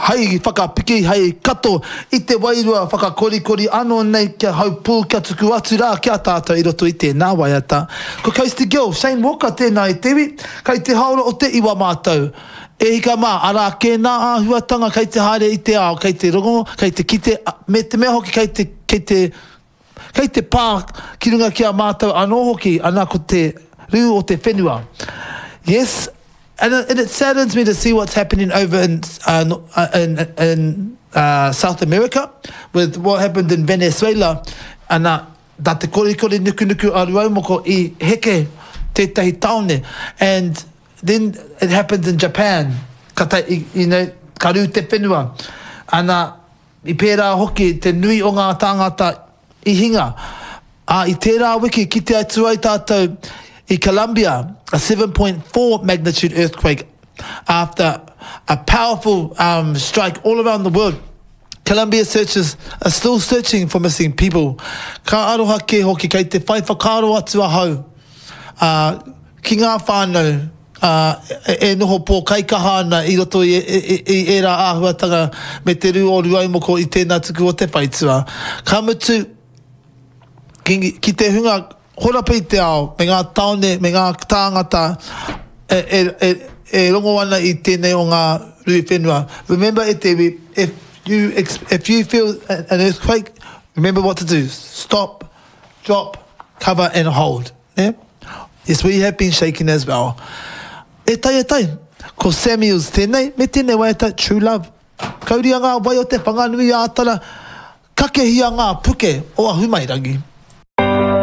Hei whakapiki, hei kato i te wairua whakakorikori anō nei kia haupū, kia tuku atu rā ki a tātou i roto i tēnā waiata. Ko Kirsty Gill, Shane Walker tēnā i te iwi, kei te haora o te iwa mātou. E hika mā, arā kē nā āhuatanga kei te haere i te ao, kei te rongo, kei te kite, me te mea hoki kei te, kei te, kei te pā ki runga ki a mātou anō hoki, ana ko te rū o te whenua. Yes, and it, and it saddens me to see what's happening over in, uh, in, in uh, South America with what happened in Venezuela, ana, nā te korikori nukunuku a Ruaumoko i heke tētahi tāone, and Then it happens in Japan, ka ta, you know, ka rū te whenua. Ana, i pērā hoki te nui o ngā tāngata i hinga. Ā, i tērā wiki kite atu ai tātou i Colombia, a 7.4 magnitude earthquake after a powerful um, strike all around the world. Colombia searchers are still searching for missing people. Ka aroha kē hoki kei te whai whakaaro atu ahau ā, ki ngā whānau, ā, e noho pōkaikaha ana i roto i, i ērā āhuatanga me te rū o Rūaumoko i tēnā tuku o te whaitua. Ka mutu, ki, ki te hunga horapa i te ao, me ngā tāone, me ngā tāngata e, e, e, e rongo ana i tēnei o ngā rū whenua. Remember e te iwi, if you, if you feel an earthquake, remember what to do. Stop, Drop, cover and hold. Nē? Yes, we have been shaken as well. E tai, e tai. Ko Samuels tēnei, me tēnei waiata, True Love. Kauria ngā wai o te Whanganui-ā-Tara, kakehia ngā puke o Ahumairangi.